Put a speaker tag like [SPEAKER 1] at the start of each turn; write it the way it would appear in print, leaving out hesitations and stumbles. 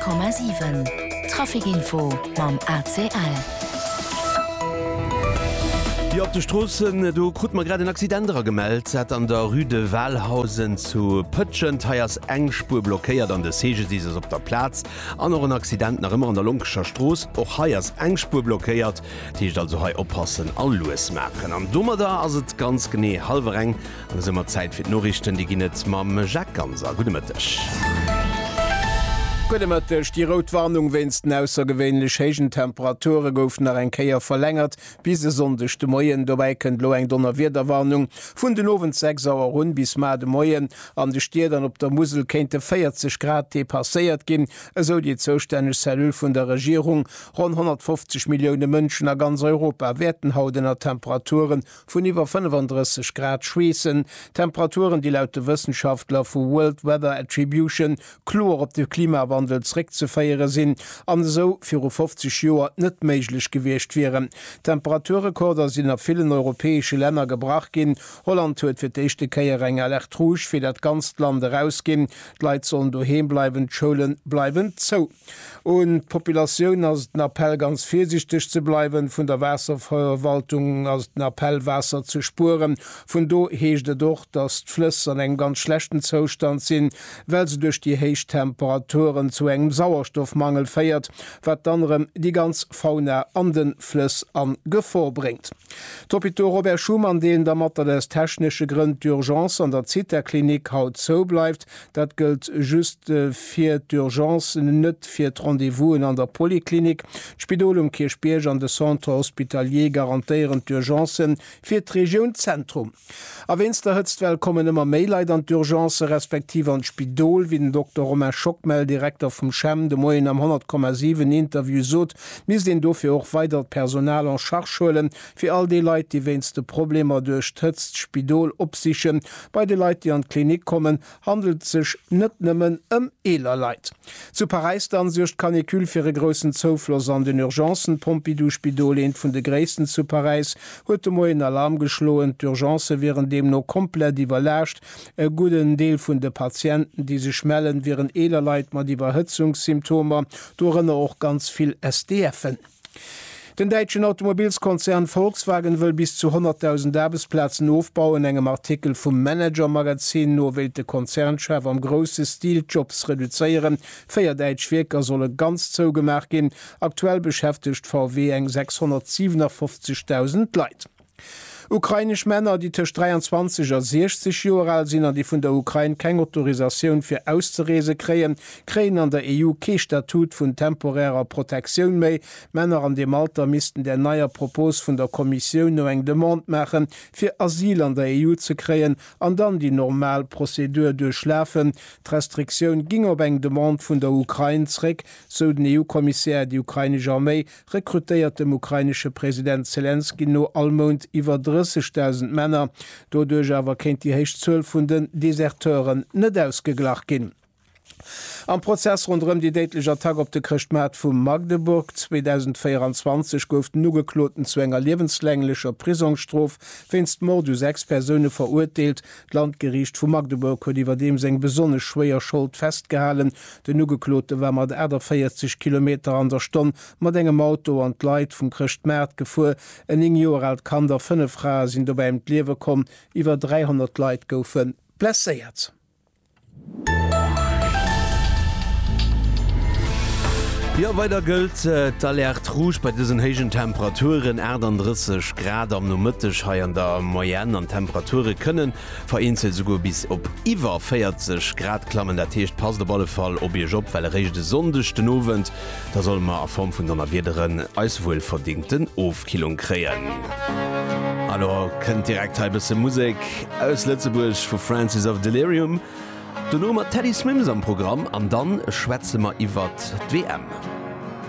[SPEAKER 1] 100,7 Trafic Info mam ACL.
[SPEAKER 2] Jo, op de Stroossen, do krute mer grad en Accident eragemellt, dat an der Rue de Walhausen zu Pëtschent. Hei ass eng Spuer blockéiert an de CGDIS ass op der Plaz. An och en Accident nach ëmmer an der Lonkecher Strooss, och hei ass eng Spuer blockéiert. Dat heescht also hei oppassen a lues maachen. An domadder ass et ganz genee hallwer eng. An esou mat Zäit fir d'Noriichten, déi ginn et mam Jacques Ganser. Gudde Mëtteg.
[SPEAKER 3] Gudde Mëtteg. Déi rout Warnung wéinst den aussergewéinlech héijen Temperature gouf nach eng Kéier verlängert bis e Sonndeg de Moien. Dobäi kënnt elo eng Donnerwiederwarnung vun den Owend 6 Auer un bis mar de Moien. An de Stied an op der Musel kéinte 40 Grad depasséiert ginn, esou déi zoustänneg Cellule vun der Regierung. Ronn 150 Millioune Mënschen a ganz Europa wäerten haut ënner Temperature vun iwwer 35 Grad schweessen, Temperaturen, déi laut de Wëssenschaftler vu World Weather Attribution kloer op de Klimawandel zréckzeféiere sinn an esou viru 50 Joer net méiglech gewiescht wieren. Temperaturrekorder sinn a villen europäesche Länner gebrach ginn. Holland huet fir d'éischte Kéier eng Alerte rouge fir dat ganzt Land erausginn. D'Leit sollen doheem bleiwen, d'Schoule bleiwen zou. Un d'Populatioun ass den Appell ganz virsichteg ze bleiwen. Vun der Waasserverwaltung ass den Appell Waasser ze spueren. Vun do heescht et och, datt d'Flëss an engem ganz schlechten Zoustand sinn, well se duerch déi héich Temperaturen zu engem Sauerstoffmangel féiert, wat dann erëm déi ganz Fauna an de Flëss a Gefor bréngt. D'Hôpitaux Robert Schuman deelen da mat, datt aus technesche Grënn d'Urgence an der Zitha-Klinik haut zou bleift. Dat gëllt just fir d'Urgencen, net fir d'Rendez-vousen an der Poliklinik. D'Spidol um Kierchbierg an de Centre hospitalier garantéieren d'Urgencen fir d'Regioun Zentrum. A wéinst der Hëtztwell kommen ëmmer méi Leit an d'Urgencen, respektiv an d'Spidol. Wéi den Dokter Romain Schockmel, Direkter vum CHEM, de Moien am 100,7 Interview sot, misst een dofir och weidert Personal en charge huelen, fir all déi Leit, déi wéinst de Problemer duerch d'Hëtzt d'Spidol opsichen. Bei de Leit, déi an d'Klinik kommen, handelt et sech net nëmmen ëm eeler Leit. Zu Paräis dann suergt d'Canicule fir e groussen Zoufloss an den Urgencen. D'Pompidou-Spidol, eent vun de gréissten zu Paräis, huet de Moien Alarm geschloen. D'Urgencë wieren deemno komplett iwwerlaascht. E gudden Deel vun de Patienten, déi sech mellen, wieren eeler Leit mat Iwwerhëtzungssymptomer, dorënner och ganz vill SDFen. Den däitschen Automobilskonzern Volkswagen wëll bis zu 100.000 Aarbechtsplazen ofbauen. Engem Artikel vum Manager Magazin no wéilt de Konzernchef am grousse Stil d'Jobs reduzéieren. 4 däitsch Wierker solle ganz zougemaach ginn. Aktuell beschäftegt VW eng 657.000 Leit. Ukrainesch Männer, déi tëscht 23 a 60 Joer al sinn an déi vun der Ukrain keng Autorisatioun fir auszereese kréien, kréien an der EU kee Statut vun temporärer Protektioun méi. Männer an deem Alter missten där neier Propos vun der Kommissioun no eng Demande maachen, fir Asyl an der EU ze kréien an dann déi normal Prozedur duerchlafen. D'Restriktioun ging op eng Demande vun der Ukrain zréck, sou den EU-Kommissär. Déi ukrainesch Arméi rekrutéiert dem ukrainesche President Selenskyj no all Mount iwwer 30.000 Männer. Doduerch awer kéint déi héich Zuel vun den Deserteuren net ausgeglach ginn. Am Prozess ronderëm déi déidlech Attack op de Chrëschtmaart vu Magdeburg 2024 gouf den Ugekloten zu enger liewenslänglecher Prisongsstrof wéinst Mord u 6 Persoune verurteelt. D'Landgeriicht vu Magdeburg huet iwwerdeems eng besonnesch schwéier Schold festgehalen. Den Ugeklote war mat 48 Kilometer an der Stonn mat engem Auto an d'Leit vum Chrëschtmaart gefuer. En 9 Joer aalt Kand a 5 Frae sinn dobäi ëm d'Liewe komm. Iwwer 300 Leit goufe blesséiert.
[SPEAKER 2] Jo, weider gëllt d'Alerte rouge bei dësen héijen Temperaturen, 38 Grad am Nomëtteg hei an der Moyenne an d'Temperature kënnen vereenzelt esouguer bis op iwwer 40 Grad klammen. Dat heescht, passt op alle Fall op Iech op, well eréischt e Sonndeg den Owend, da solle mer a Form vun Donnerwiederen eis wuelverdingten Ofkillung kréien. A lo kënnt direkt hei e bësse Musek aus Lëtzebuerg vu Francis of Delirium. Dono mat Teddy Swims am Programm an dann schwätze mer iwwert d'WM.